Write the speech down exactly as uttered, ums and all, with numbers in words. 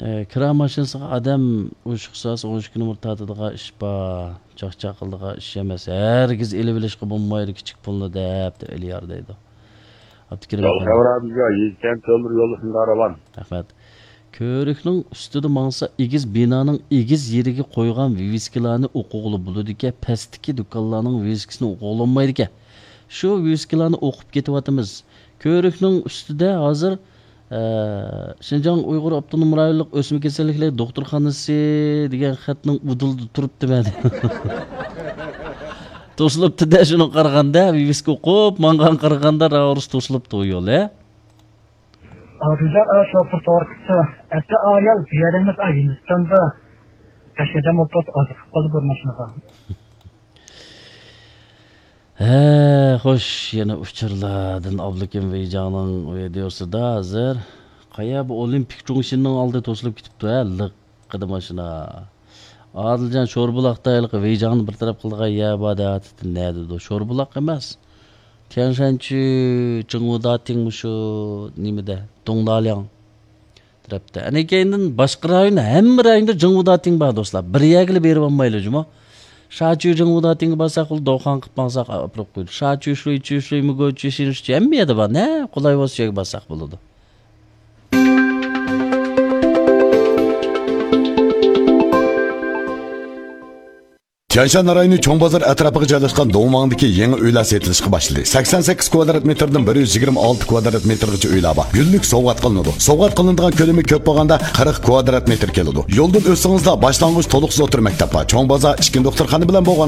ئە، كىرا ماشىنىسىغا ئادەم ئوشۇق ساس ئون ئىككى نومۇر تارتىدىغان ئىش بار. چاقچاق قىلىدىغان ئىش ئەمەس. ھەرگىز ئېلىۋېلىشقا بولمايدۇ، كىچىك پۇلنى دەپ، دەپ ئېلىيار دەيدۇ. ئابدۇكېرىم ئەپەندى. خەۋەر ئابىزگە يېزىكەن تۆمۈر يول ئۈستىدە راۋان. رەھمەت. كۆۋرۈكنىڭ ئۈستىدە ماڭسا، ئېگىز بىنانىڭ ئېگىز يېرىگە قويغان ۋىۋىسكىلارنى ئوقۇغىلى بولىدىكەن، پەستىكى دۇكانلارنىڭ ۋىۋىسكىسىنى ئوقۇغىلى بولمايدىكەن. شۇ ۋىۋىسكىلارنى ئوقۇپ كېتىۋاتىمىز. كۆۋرۈكنىڭ ئۈستىدە ھازىر، ئە، شىنجاڭ ئۇيغۇر ئاپتونوم رايونلۇق ئۆسمە كېسەللىكلىرى دوختۇرخانىسى دېگەن خەتنىڭ ئۇدۇلىدا تۇرۇپتىمەن. توسۇلۇپتۇ-دە، شۇنىڭغا قارىغاندا، ۋىۋىسكا ئوقۇپ ماڭغان قارىغاندا، راۋۇرۇس توسۇلۇپتۇ يول، ھە؟ ئادىلجان، ئا، شوپۇر توغرا قىپتۇ. ئەتە ئايال بۇ يەردە ئەمەس، ئا، ھىندىستاندا. بەش ئادەم ئولتۇرۇپ ئازىقىپ قالدى بىر ماشىنىغا. ھە، خوش، يەنە ئۇچۇرلاردىن ئابلىكىم ۋېيجاڭنىڭ ۋىدېئوسىدا ھازىر. قايا بۇ ئولىمپىك جۇڭشىننىڭ ئالدى توسۇلۇپ كېتىپتۇ، ھە، لىققىدە ماشىنا. ئادىلجان، شوربۇلاقتا ھېلىقى ۋېيجاڭنى بىر تەرەپ قىلىدىغان يەر بار دەۋاتىدۇ، نەدىدۇ؟ شوربۇلاق ئەمەس. تيەنشەنچۈ، جىڭۋۇداتىڭ مۇشۇ نېمىدە، دۇڭدالياڭ تەرەپتە. ئەنە كەينىدىن باشقا رايون، ھەممە رايوندا جىڭۋۇداتىڭ بار، دوستلار. بىر يەرگىلا بېرىپ بولمايلى جۇمۇ. شاچۈ جىڭۋۇداتىڭغا بارساق، ئۇ دوخان قىلىپ ماڭساق ئاپىرىپ قويىدۇ. شاچۈ، شۇيچۈ، شۇيمىگوچۈ، شىنشۇچۈ، ھەممە يەردە بار. نە قولاي بولسا شۇ يەرگە بارساق بولىدۇ. تيەنشان رايونى چوڭ بازار ئەتراپىغا جايلاشقان دۇڭۋاڭدىكى يېڭى ئۆيلەر سېتىلىشقا باشلىدى. سەكسەن سەككىز كۋادرات مېتىردىن بىر يۈز يىگىرمە ئالتە كۋادرات مېتىرغىچە ئۆيلەر بار. گۈللۈك سوۋغات قىلىنىدۇ. سوۋغات قىلىنىدىغان كۆلىمى كۆپ بولغاندا قىرىق كۋادرات مېتىر كېلىدۇ. يولدىن ئۆتسىڭىزلا باشلانغۇچ تولۇقسىز ئوتتۇرا مەكتەپ بار. چوڭ بازار ئىككىنچى دوختۇرخانا بىلەن بولغان